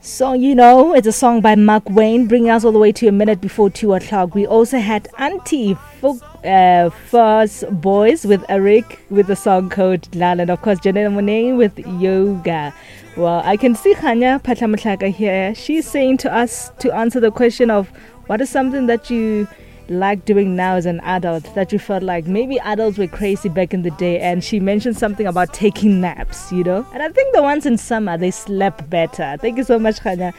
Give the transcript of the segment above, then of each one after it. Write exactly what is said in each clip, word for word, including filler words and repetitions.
Song You Know, it's a song by Mark Wayne, bringing us all the way to a minute before two o'clock. We also had Auntie Fo- uh, First Boys with Eric with the song called Lal, and of course Janelle Monáe with Yoga. Well, I can see Khanya Patlamutlaka here. She's saying to us to answer the question of what is something that you like doing now as an adult that you felt like maybe adults were crazy back in the day, and she mentioned something about taking naps, you know, and I think the ones in summer, they slept better. Thank you so much, Khanya,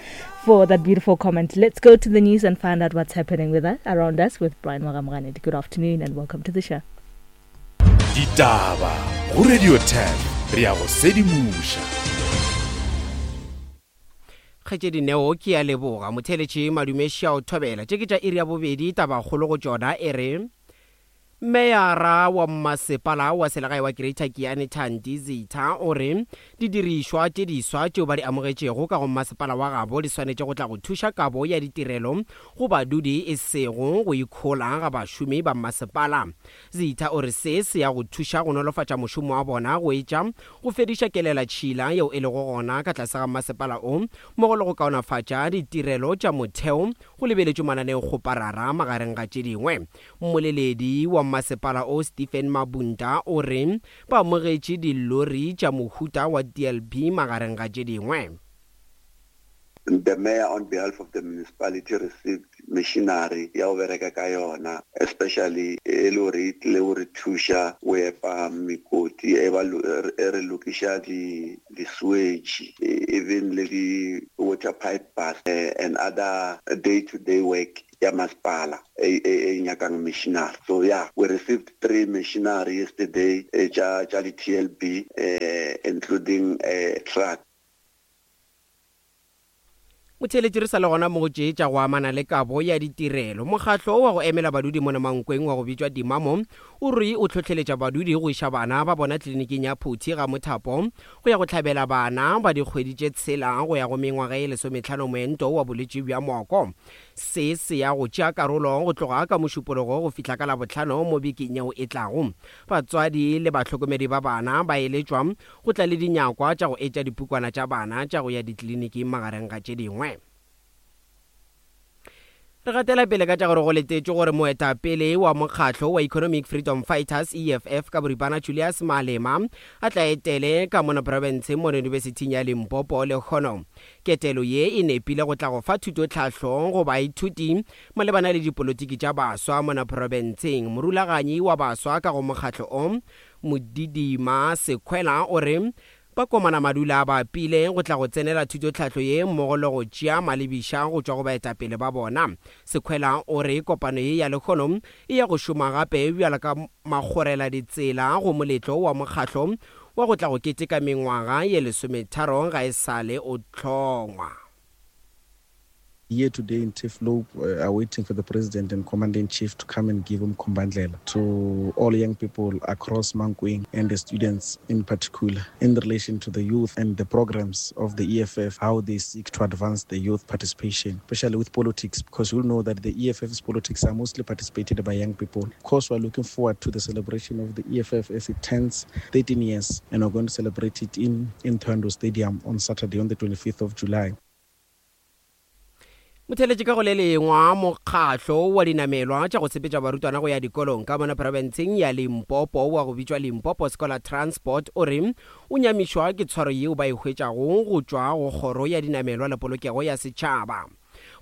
for that beautiful comment. Let's go to the news and find out what's happening with us around us with Brian Moramrane. Good afternoon and welcome to the show. Ditaba go Radio ten, re ya go sedimoša. Kgaetšedi Neo, ke a leboga. Motheletše madumeši a o thobela. Tše ke tša iri ya bobedi, tabakgolo go tšona e re meyara wa mmasepala wa selegae wa Greater Giyani Thandi Zitha o re didirišwa tše diswa tšeo ba di amogetšego ka go mmasepala wa gabo di swanetše go tla go thuša kabo ya ditirelo go badudi e sego go ikhola ga bašomi ba mmasepala. Zitha o re se se ya go thuša go nolofatša mošomo wa bona go etša go fediša kelela tšhila yeo e lego gona ka tlase ga mmasepala o, mmogo le go kaonafatša ditirelo tša motheo go lebeletšwe mananeokgoparara magareng ga tše dingwe. Mmoleledi wa mmasepala o Stephen Mabunda o re ba amogetše dilori tša mohuta wa D L B magareng ga tše dingwe. The mayor on behalf of the municipality received machinery ya go bereka ka yona, especially e le gore e tlile go re thuša go epa mekoti e ba lo-, e re lokiša di, di sewage, even le di water pipe bus, eh, and other day-to-day work ya masepala e, e, e nyakang machinery. So yeah, we received three machinery yesterday, eh, tša, tša di T L B, eh, including a truck. Motheeletši re sa le gona mo go tše tša go amana le kabo ya ditirelo. Mokgatlo wa go emela badudi mona Mankweng wa go bitšwa Dimamo o re o hlohleletša badudi go iša bana ba bona tleliniking ya Phuthi ga Mothapo go ya go hlabela bana ba dikgwedi tše tshela go ya go mengwaga ye lesometlhano moento wa bolwetši bja moko. Se se ya go tšea karolo go tloga ka Mošupologo go fihla ka Labohlano mo bekeng yeo e tlago. Batswadi le bahlokomedi ba bana ba eletšwa go tla le dinyakwa tša go etša dipukwana tša bana tša go ya ditleliniking magareng ga tše dingwe. Re gatela pele ka tša gore go letetšwe gore moetapele wa mokgatlo wa Economic Freedom Fighters E F F ka boripana Julius Malema a tla etele ka mona profenseng mo Yunibesithing ya Limpopo lekgono. Ketelo ye e nepile go tla go fa thutotlhahlo go baithuti malebana le dipolotiki tša baswa mona profenseng. Morulaganyi wa baswa ka go mokgatlo o, Modidima Sekhwela, o re ba komana madula a bapile go tla go tsenela thutotlhahlo ye mmogo le go tšea malebiša go tšwa go baetapele ba bona. Sekhwela o re kopano ye ya lekgono e ya go šoma gape bjalo ka makgorela ditsela go moletlo wa mokgatlo wa go tla go keteka mengwaga ye lesometharo ga e sale o hlongwa. Here today in Turfloop, uh, are waiting for the President and Commander-in-Chief to come and give Umkhombandlela to all young people across Mankweng and the students in particular, in relation to the youth and the programs of the E F F, how they seek to advance the youth participation, especially with politics, because you'll know that the E F F's politics are mostly participated by young people. Of course, we're looking forward to the celebration of the E F F as it turns thirteen years, and we're going to celebrate it in, in Thohoyandou Stadium on Saturday, on the twenty-fifth of July. Motheeletši ka go le lengwa mokgatlo wa dinamelwa tša go sepetša barutwana go ya dikolong ka mona profenseng ya Limpopo wa go bitšwa Limpopo Scholar Transport o re o nyamišwa ke tshwaro yeo ba e hwetšago go tšwa go kgoro ya dinamelwa le polokego ya setšhaba.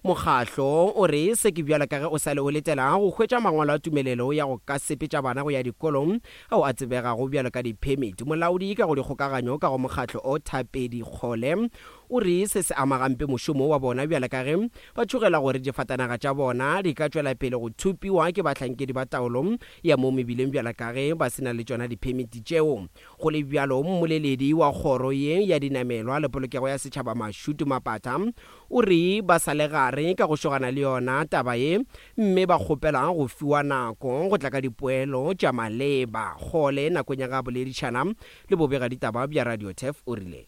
Mokgatlo o re se ke bjalo ka ge o sa le o letela go hwetša mangwalo a tumelelo ya go ka sepetša bana go ya dikolong ao a tsebegago bjalo ka di-permit. Molaodi ka go dikgokaganyo ka go mokgatlo o Thapedi Kgole o re se se ama gampe mošomo wa bona bjalo ka ge ba tšhogela gore difatanaga tša bona di ka tšwela pele go thupiwa ke bahlankedi ba taolo ya mo mebileng bjalo ka ge ba se na le tšona di-permit tšeo. Go le bjalo, mmoleledi wa kgoro ye ya dinamelwa le polokego ya setšhaba Mashudu Mapatha o re ba sa le gare ka go šogana le yona taba ye, mme ba kgopela go fiwa nako go tla ka dipoelo tša maleba. Kgole nakong ya ga boledišana le bobega ditaba bja Radio Turf o rile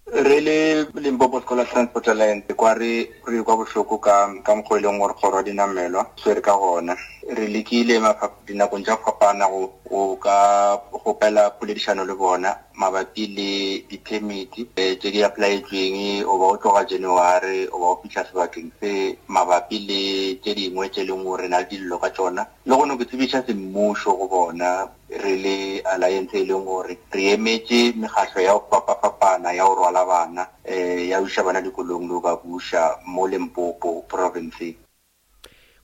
Re le Limpopo Scholar Transport Alliance kwa re re kwa bohloko ka ka mokgwa e leng gore kgoro ya dinamelwa swere ka gona. Re lekile mafapha dinakong tša go fapana go, go ka kgopela poledišano le bona. mabapi le di-permit tše di applyetsweng o ba o tloga January o ba o fihla sebakeng se mabapi le tše dingwe tše leng gore na le dillo ka tšona le gone ke tsebiša semmušo go bona re le alliance e leng gore re emetše mekgahlo ya go fapafapana ya go rwala bana um ya go iša bana dikolong le go ba buša mo Limpopo province.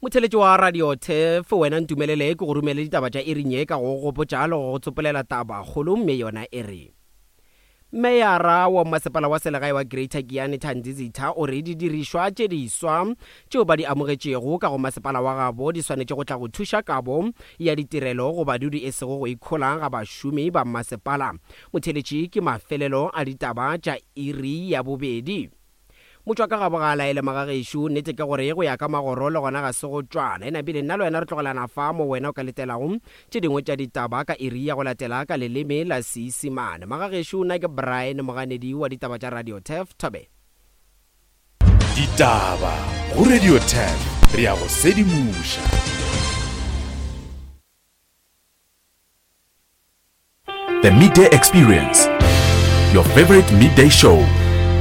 Motheletši wa Radio Turf, wena ntumelele ke go romele ditaba tša iring ye ka go gopotša le go tsopolela taba kgolo mme yona e re Meyara wa masepala wa selegae wa Greater Giyani Thandi Zitha o re didirišwa tše diswa tšeo ba di amogetšego ka go masepala wa gabo di swanetše go tla go thuša kabo ya ditirelo go badudi e sego go ikhola ga bašomi ba masepala. Motheletši ke mafelelo a ditaba tša iri ya bobedi. Motšwa ka gabo ga a laele magagešo, nnete ke gore go ya ka magoro le gona ga se go tšwana. E napile nna le wena re tlogelana fa mo wena o ka letelago tše dingwe tša ditaba ka iri ya go latela ka leleme la Seisemane. Magagešo, nna ke Brian Moganedi wa ditaba tša Radio Turf. Thobe. Ditaba go Radio Turf, re ya go sedimoša. The Midday Experience, your favorite midday show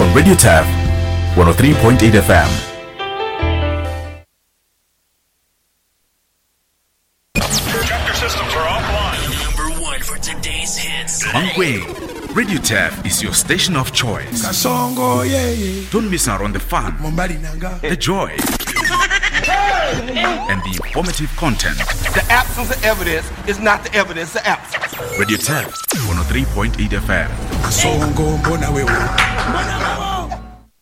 on Radio Turf one oh three point eight F M. Chapter systems are offline. Number one for today's hits. Mankweng, Radio Turf is your station of choice. Kasongo, yeah, yeah. Don't miss out on the fun, the joy, and the informative content. The absence of evidence is not the evidence of absence. Radio Turf one oh three point eight F M. Kasongo, mbona wewe.